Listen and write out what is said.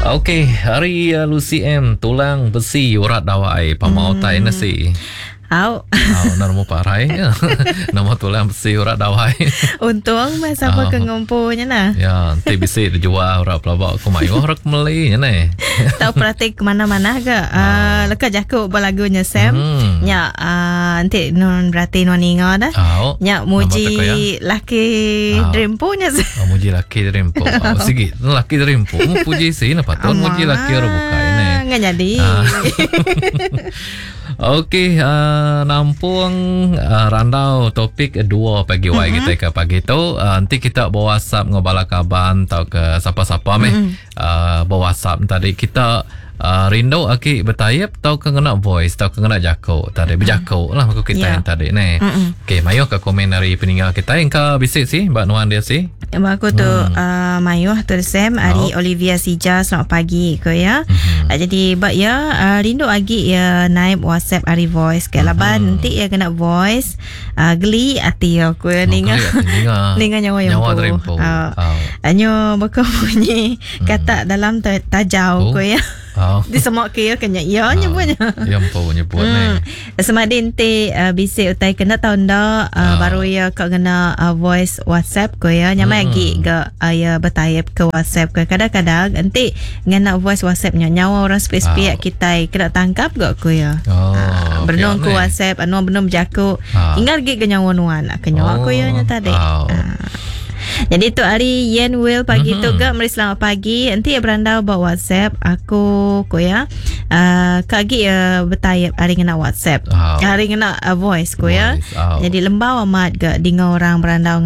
Okey, hari uh, Lucy M tulang besi urat dawai pamau hmm. tai nasi. Au. Au, nama parai. Nama tulang besi urat dawai. Untung meh sapa ke ngumpu nya nah. Ya, enti bisi dijual urat pelaba aku mayuh orang meli nya neh. Tau perati ke mana-mana ke uh, leka jaku ba lagu nya Sam. Hmm. Nya uh, enti non berati non ninga dah. Au. Nya muji laki dreampu nya. Oh, muji laki dreampu. Oh, sigi laki dreampu puji si na patut muji laki orang bukai neh. Enggak jadi. Uh. Okey, uh, nampung uh, randau topik dua pagi wai mm-hmm. kita ke pagi tu. Uh, nanti kita bawa WhatsApp dengan bala kaban atau ke siapa-siapa meh. Mm-hmm. Uh, bawa WhatsApp tadi kita uh, rindu aki bertayap atau ke ngena voice atau ke ngena jako tadi berjako lah aku kita yeah. yang tadi ni. Mm-hmm. Okey, mayuh ke komen dari peninggal kita yang ke bisik sih, mbak nuan dia sih. Ba aku tu hmm. uh, mayuh tu Sam ari oh. Olivia Sija selamat pagi ko ya. Hmm. Uh, jadi ba ya uh, rindu agi ya naik WhatsApp ari voice ke hmm. laban nanti ya kena voice uh, geli ati aku ya oh, ninga ninga ninga nyawa yang nyawa terimpu. Uh, oh. Anyo baka bunyi hmm. kata dalam tajau oh. ko ya. Oh. Di semua ke ya kenya ya oh. nyebutnya. Ya empu nyebut hmm. ni. Semadi enti uh, bisi utai kena tau enda uh, oh. baru ya ka ngena uh, voice WhatsApp ko ya nyamai hmm. agi ga uh, ya bertype ke WhatsApp ke kadang-kadang enti ngena voice WhatsApp nya nyawa orang sepik-sepik oh. kitai kena tangkap ga ko ya. Oh, uh, benung ku WhatsApp anu benung bejaku Ah. ingat agi ga nyawa nuan ke nyawa oh. ko ya nya tadi. Oh. Uh. Jadi tu hari Yen Will pagi mm-hmm. tu ga meri selamat pagi. Enti ya berandau ba WhatsApp aku ko ya. Uh, ka agi ya bertayap hari ngena WhatsApp. Oh. Hari ngena uh, voice ko ya. Voice, oh. Jadi lembau amat ga dinga orang berandau.